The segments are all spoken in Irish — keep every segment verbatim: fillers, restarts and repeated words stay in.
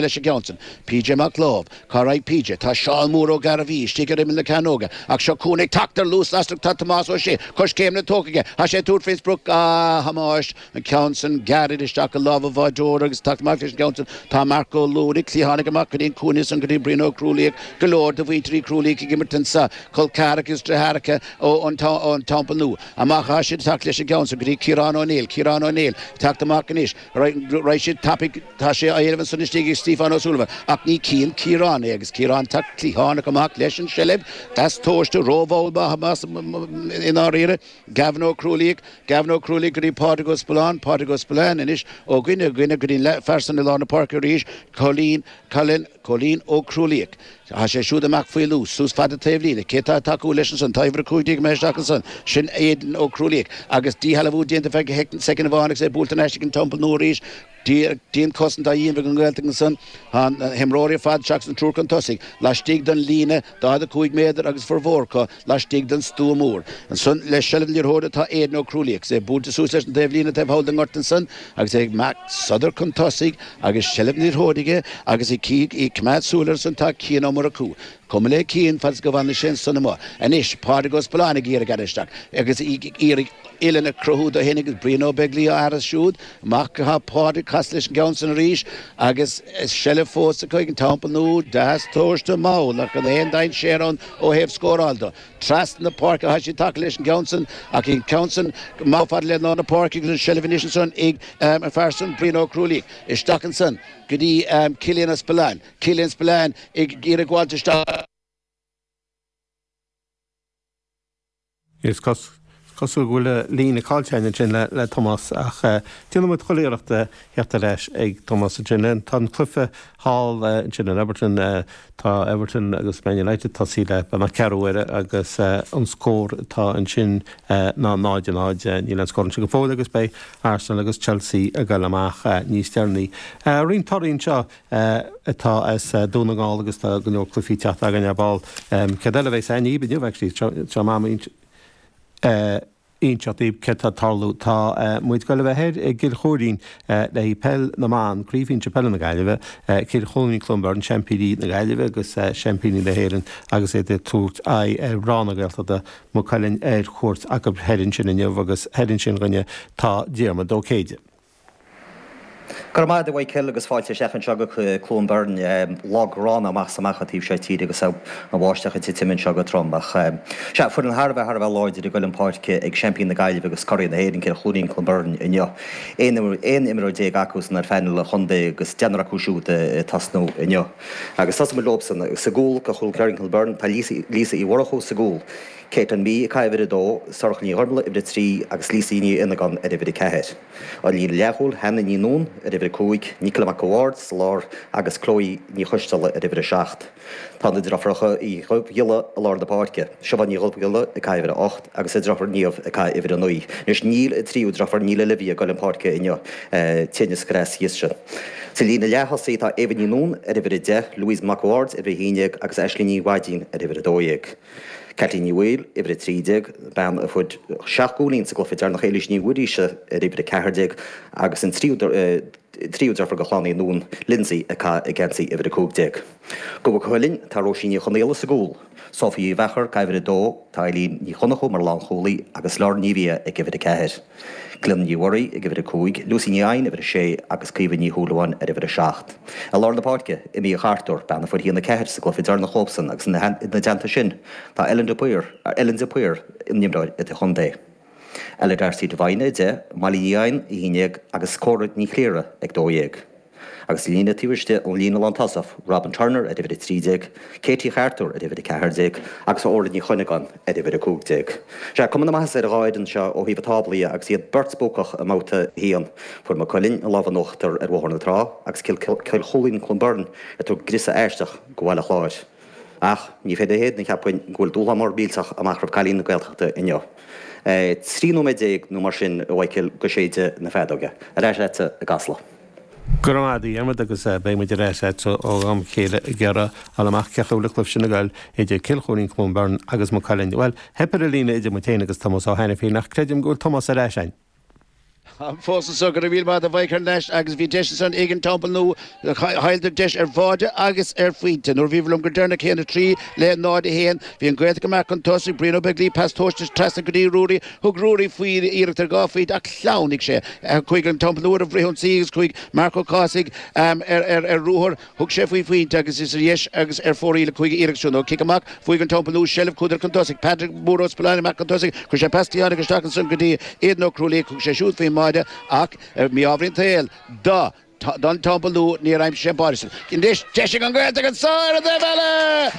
leis an gceann san. PJ Mac Láimh, Cá raghaidh PJ? Tá Seán Mór Ó Gairbhí istigh ar imeall na cearnóige ach seo chugainn ag teacht ar luas lasrach tá Tomás Ó Sé coiscéimeanna tógtha aige. Tá sé ag tabhairt faoin sprioc. Ah, a Thomáis, an ceann san gairid isteach i lámha an bháireora agus teacht amach leis an gceann san tá Marc Ó Lúraigh, cliathánaigh amach go dtí an cúinne san go dtí Brian Ó Crualaoich, go leor de mhuintir Uí Chrualaoich ag imirt anso, col ceathracha is deartháireacha ón Teampall Nua. Amach atá siad ag teacht leis an gceann san go dtí Ciarán Ó Néill, Ciarán Ó Néill ag teacht amach anois. Raghaidh siad tapaidh, tá sé á éileamh ansan istigh ag Stiofán Ó Súilleabháin, ach ní chíonn Ciarán é agus Ciarán teacht cliathánach amach leis an seilbh, deas tomhaiste, rómhall maith i ndáiríre. Gavin Ó Crualaoich, Gavin Ó Crualaoich go dtí Pádraig Ó Spealáin, Pádraig Ó Spealáin anois ó dhuine go dhuine go dtí an fear san i lár na páirce arís, Cóilín, Colin, Cóilín Ó Crualaoich. Tá sé siúd amach faoi luas, suas fada taobhlíne. Cé tá ag tacú leis ansan? Tá uimhir a cúig déag imithe isteach ansan. Sin Aidan Ó Crualaoich. Agus díshealbhú déanta feadh soicind amháin agus é buailte thar n-ais ag an Teampall Nua arís. Dianchosaint á dhéanamh ag an nGaeltacht ansan. Tá na himreoirí ar fad seachas an triúr chun tosaigh laistigh den líne daichead a cúig méadar agus formhór acu laistigh den stua mór. Ansan le seilbh na liathróide tá Aidan Ó Crualaoich agus é buailte suas leis an taobhlíne taobh thall den ngort ansan agus é ag imeacht sodar chun tosaigh agus seilbh na liathróide aige agus ag coimeád súil air ansan tá Cian Ó Murchú. Cuma le Cian fad is go bhfanann sé ansan amuigh. Anois Pádraig Ó Spealáin ag iarraidh gearradh isteach agus ag iarraidh uillinn a chruthú dó fhéin agus Brian Ó Beaglaoich á fhearas siúd. Amach atá Pádraig casadh leis an gceann san arís agus seilbh fós acu ag an Teampall Nua. Deas tomhaiste mall ach gan aon dainséar ann ó thaobh scóráil de. Trasna na páirce atá siad tagtha leis an gceann san ach an ceann san amach fada le lár na páirce agus an seilbh anois ansan ag an fear san Brian Ó Crualaoich. Isteach ansan go dtí Cillian Ó Spealáin. Cillian Spillane ag iarraidh gabháilt isteach. Is cosúil go bhfuil líne caillte againn ansin le Tomás ach déanfaidh muid chuile iarracht theacht ar ais ag Tomás ansin. Tá an cluiche thall ansin in Everton, tá Everton agus Man United tosaithe le beagnach ceathrú uaire agus an scór atá ansin ná náid a náid. Níl aon scór ansin go fóill agus beidh Arsenal agus Chelsea ag dul amach níos deireanaí. Roinnt torthaí anseo atá as Dún na nGall agus tá go leor cluichí teacht againn ar ball. Céard eile a bheas againn inniu actually seo m'am inseacht daoibh céard tá ag tarlú. Tá muid ag dul a bheith thoir i gCill Choirín le haghaidh Peil na mBan, Craobh Shinsir Peile na Gaillimhe, Cill Chluain Cluain Bheirn, seaimpíní na Gaillimhe agus seaimpíní na hÉireann agus iad ag tabhairt aghaidh ar mhná na Gaeltachta, Maigh Cuilinn ar cuairt acu thoir ansin inniu agus thoir ansin againne tá Diarmuid Ó Céide. Go raibh maith agat a Mhichael agus fáilte isteach anseo go Cluain Bheirn. Lá gránna amach is amach an taobh seo tíre agus an bháisteach ag titim anseo go trom. Ach sea, foireann thar a bheith thar a bheith láidir ag goil chun páirce ag seaimpín na Gaillimhe agus curaidh na hÉireann, Cill Chluainín Cluain Bheirn inniu. Aon imreoir déag acu san ar phainéal an chontae agus deichniúr acu siúd ag tosnú inniu. Agus tosóidh muid leobsan. Sa gcúl do Chill Chluainín Cluain Bheirn tá Lisa Uí Mhurchú sa gcúl. Caitlin Mee ag caitheamh uimhir a dó, Sorcha Ní Ghormlaith uimhir a trí agus Lisa Ní Fhionnagáin ar uimhir a ceathair. An líne leathchúil, Hannah Ní Nuadháin ar uimhir a cúig, Nicola Mac a' Bhaird sa lár agus Chloe Ní Choisteala ar uimhir a seacht. Tá na deirfiúracha Uí Dhubhghiolla i lár na páirce, Siobhán Ní Dhubhghiolla ag caitheamh uimhir a hocht agus a deirfiúr Niamh ag caitheamh uimhir a naoi. Anois níl an tríú deirfiúr, níl Olivia ag goil chun páirce inniu, tinneas greas thíos sin. Sa líne leath-thosaigh tá Eva Ní Nuadháin ar uimhir a deich, Louise Mac a' Bhaird uimhir a haon déag agus Aisling Ní Mhaidín ar uimhir a dó dhéag. Caitlín Ní Bhaoill, uimhir a trí déag, bean a fuair seacht gcúilín sa gcluiche deireanach, Éilís Ní Mhuiríse ar uimhir a ceathair déag agus an tríú tríú deirfiúr de chlann Uí Nuadháin, Lindsay, ag caitheamh geansaí uimhir a cúig déag. Do Mhaigh Cuilinn, tá Róisín Ní Chonaola sa gcúl, Sophie Uí Mheachair ag caitheamh uimhir a dó, tá Eileen Ní Chonchú mar lánchúlaí agus Lauren Ní Bhia ag uimhir a ceathair. Cliona Ní Mhuirí ag uimhir a cúig, Lucy Ní Eidhin uimhir a sé agus Caoimhe Ní Shúilleabháin ar uimhir a seacht. I lár na páirce, Amy Uí Chartúir, bean a fuair a haon a ceathair sa gcluiche deireanach leobsan agus ina dteannta sin tá Ellen de Paor, Ellen de Paor, an imreoir idirchontae. Ella D'Arcy Devine a deich, Molly Ní Eidhin a haon déag agus Cora Ní Chliara ag dó dhéag. Agus an líne taobh istigh ón líne lántosach, Robin Turner ar uimhir a trí déag, Katie Chartúir ar uimhir a ceathair déag agus Orla Ní Chuinneagáin ar uimhir a cúig déag. Sea, cuma na maitheasa ar an dhá fhoireann seo ó thaobh an tábla dhe agus iad beirt buacach i mbabhta a haon. Fuair Maigh Cuilinn an lámh in uachtar ar Bhóthar na Trá agus Cill Chluain Cluain Bheirn ag tabhairt griosadh aisteach do Bhaile Chláir. Ach ní féidir a shéanadh, cheapfainn, go bhfuil dúshlán mór millteach amach roimh cailíní na Gaeltachta inniu. Trí nóiméad déag nó mar sin, a Mhichael, go séideadh na feadóige. Ar ais leatsa i gCasla. Go raibh maith agat, a Dhiarmuid, agus beidh muid ar ais agat ó am go chéile ag iarraidh a fháil amach cén chaoi a bhfuil an cluiche sin ag goil idir Cill Chluainín Cluain Bheirn agus Maigh Cuilinn. Bhuel, theip ar an líne idir muid féin agus Tomás Ó hAiniféin ach creidim go bhfuil Tomás ar ais againn. Fós anseo go raibh míle maith a Mhichael leis agus bhí deis ansan ag an Teampall Nua chailleadar deis ar bháide agus ar phointe. Nuair a bhí liom go deireanach haon a trí le náid a haon bhí an Ghaeltacht amach chun tosaigh Brian Ó Beaglaoich pas tomhaiste trasna go dtí Ruairí thug Ruairí faoi iarracht ar dhá phointe ach shleamhnaigh sé. Chuaigh an Teampall Nua ar fhrithionsaí agus chuaigh Marc Ó Cathasaigh ar ruathar thug sé faoi phointe agus is ar dheis agus ar fóraoil a chuaigh an iarracht sin. Ó cic amach bhuaigh an Teampall Nua seilbh chuadar chun tosaigh Patrick Mór Ó Spealáin amach chun tosaigh chuir sé pas cliatháin isteach ansan go dtí Aidan Ó Crualaoich thug sé siúd faoin mbáide ach mí-ádh ar an tsaol do don Teampall Nua níor aimsigh sé an báide sin. Anois deis ag an Ghaeltacht anso ar an dtaobh eile!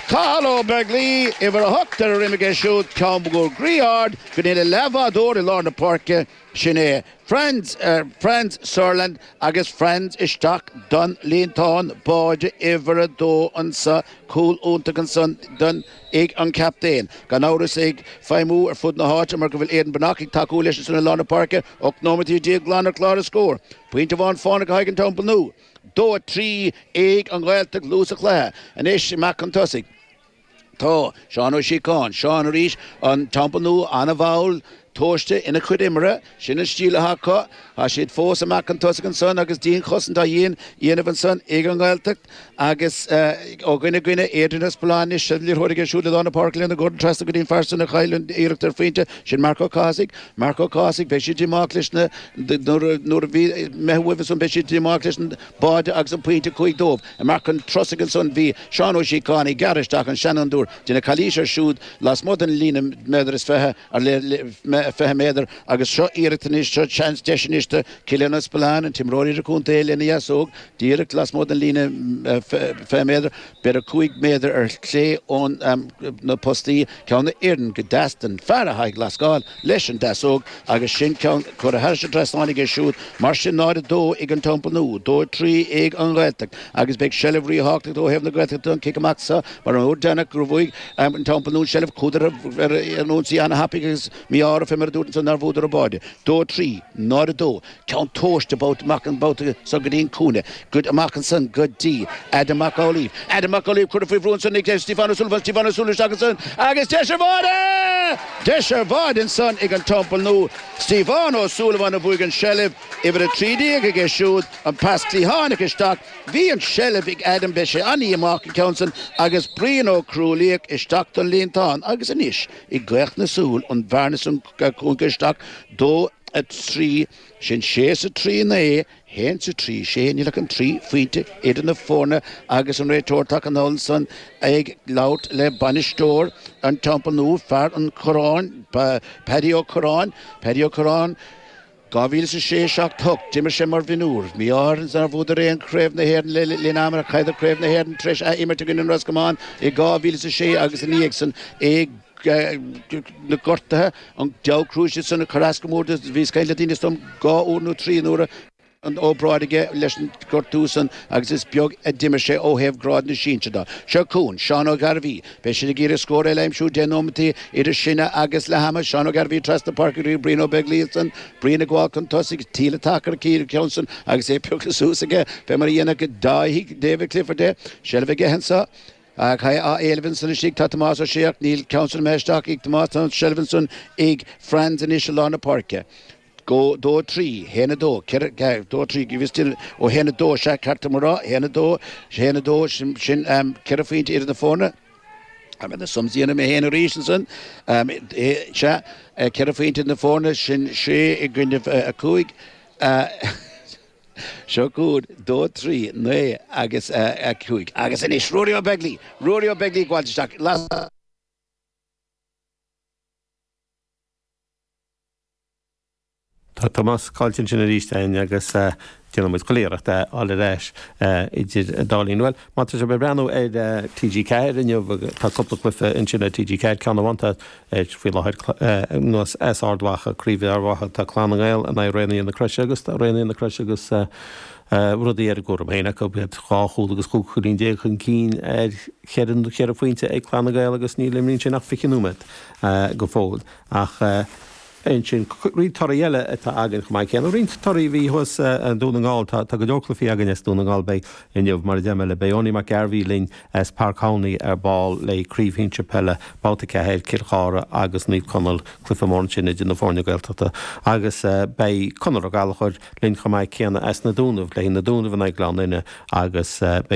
Cathal Ó Beaglaoich, uimhir a hocht ar a dhroim aige siúd, ceann go groí-ard go dtí an leathbhádóir i lár na páirce, sin é Franz, Franz Sutherland agus Franz isteach don líontán, báide uimhir a dó anso, cúl iontach ansan don ag an captaen. Gan amhras ag feidhmiú ar fud na háite mar go bhfuil Aidan Breathnach ag tacú leis ansan i lár na páirce, ocht nóimeataí déag glan ar chlár an scóir. Pointe amháin fánach ag an Teampall Nua. Dó a trí ag an Ghaeltacht luath sa chluiche. Anois amach chun tosaigh. Tá Seán Ó Síocháin, Seán arís, an Teampall Nua an-mhall, tomhaiste ina chuid imeartha, sin an stíl atá acu. Tá siad fós amach chun tosaigh ansan agus dianchosaint á dhéanamh ansan ag an nGaeltacht agus ó dhuine go duine, Adrian Ó Spealáin anois, an liathróid aige siúd i lár na páirce lena Gordon trasna go dtí an fear san a chaill an iarracht ar phointe, sin Marc Ó Cathasaigh. Marc Ó Cathasaigh, beidh siad díomách leis na, nuair a bhí imithe uaibh ansan, beidh siad díomách leis an báide agus an pointe a chuaigh dóibh. Amach chun tosaigh ansan bhí Seán Ó Síocháin ag gearradh isteach an seanfhondúir, déanamh calaois air siúd lasmuigh den líne méadar is fiche, fiche méadar agus seo iarracht anois, seo seans, deis anois do Cillian Ó Spealáin, an t-imreoir idirchontae lena dheasóg, díreach lasmuigh den líne fiche méadar, b'fhéidir cúig méadar ar chlé ón na postaí, ceann a oireann go deas don fear atá ag lascáil leis an deasóg agus sin ceann curtha thairis an trasnán aige siúd. Mar sin náid a dó ag an Teampall Nua, dó a trí ag an Ghaeltacht agus beidh seilbh ríthábhachtach ó thaobh na Gaeltachta don chic amach seo mar an uair deireanach gur bhuaigh an Teampall Nua an tseilbh chuadar ar an ionsaí an-thapaidh agus mí-ádh orthu mar a dúirt ansan nár bhuadar an báide. Dó a trí, náid a dó, ceann tomhaiste babhta amach an babhta so go dtí an cúinne, go amach ansan go dtí Adam Mac Amhlaoibh. Adam Mac Amhlaoibh curtha faoi bhrú ansan ag Stiofán Ó Súilleabháin, Stiofán Ó Súilleabháin isteach ansan agus deis ar bháide! Deis ar bháide ansan ag an Teampall Nua. Stiofán Ó Súilleabháin a bhuaigh an tseilbh, uimhir a trí déag aige siúd, an pas cliathánach isteach. Bhí an tseilbh ag Adam, beidh sé an-dhíomách an ceann san agus Brian Ó Crualaoich isteach don líontán agus anois i gcaoch na súl an bhearna san cúnga isteach dó a trí, sin sé is a trí naoi, haon is a trí sé, níl ach an trí phointe idir na foirne agus an réiteoir tagtha anall ansan ag labhairt le bainisteoir an Teampaill Nua, fear an Chorráin, Paddy Ó Curráin, Paddy Ó Curráin. dhá mhíle is a sé, seacht, ocht, d'imir sé mar mhionúr. Mí-ádh air nár bhuadar aon Chraobh na hÉireann le linn ama ach chailleadar Craobh na hÉireann tar éis ath-imirt i gcoinne an Ros Comáin i dhá mhíle is a sé agus ina dhiaidh san i na gortuithe, an deabhadh cruaise san a chuir as go mór do. Bhíos ag caint le daoine is dom dhá uair nó trí nuair a an obráid aige leis an gortú san agus is beag a d'imir sé ó thaobh grád na sinsear de. Seo chugainn Seán Ó Gairbhí. Beidh siad ag iarraidh scór eile a aimsiú deich nóimeataí idir sinne agus leath ama. Seán Ó Gairbhí trasna páirce go dtí Brian Ó Beaglaoich ansan. Brian ag gabháil chun tosaigh. Tíl atac ar an ceann san agus é pioctha suas aige fé mar a dhéanfadh Dáithí David Clifford é. Seilbh aige anso. Ach á éileamh ansan istigh tá Tomás Ó Sé ach níl ceann san imithe isteach ag Tomás. Tá an tseilbh ansan ag Franz anois i lár na páirce. Go dó trí, haon a dó, ceithre, dó trí, bhí still ó haon a dó, sea, ceart dom a rá, haon a dó, haon a dó, sin, sin ceithre phointe idir na foirne. Tá mé na sums a dhéanamh mé féin arís ansan. Sea, ceithre phointe idir na foirne, sin sé i gcoinnibh a cúig. Seo chugainn, dó, trí, naoi agus a cúig. Agus anois, Ruairí Ó Beaglaoich, Ruairí Ó Beaglaoich ag gabháilt isteach. Las. Tá Tomás caillte ansin arís againn agus déanfaidh muid chuile iarracht é a fháil ar ais idir an dá linn. Bhuel, má tá sibh ag breathnú ar T G ceathair inniu, tá cúpla cluiche ansin ar T G ceathair, ceann amháin tá faoi láthair anuas as Ard Mhacha, Craobh Ard Mhacha, tá Clann na nGael in aghaidh Raonaithe na Croise agus tá Raonaithe na Croise agus rudaí ar a gcúram féin acu, iad dhá chúl agus chúig chúilín déag chun cinn ar cheithre cheithre phointe ag Clann na nGael agus níl imithe ansin ach fiche nóiméad go fóill. Ach. Ansin roinnt torthaí eile atá againn chomh maith céanna. Roinnt torthaí a bhí thuas i nDún na nGall. Tá go leor cluichí againn as Dún na nGall. Beidh inniu, mar a deir mé le beidh Owenie Mac Gairbhí linn as Páirc Thomhney ar ball le Craobh Shinsir Peile Babhta a ceathair, Cill Chartha agus Naomh Conaill, cluiche mór ansin idir na foirne Gaeltachta. Agus beidh Conor Ó Gallchóir linn chomh maith céanna as na Dúnaibh le Na Dúnaibh in aghaidh Gleann Fhinne agus beidh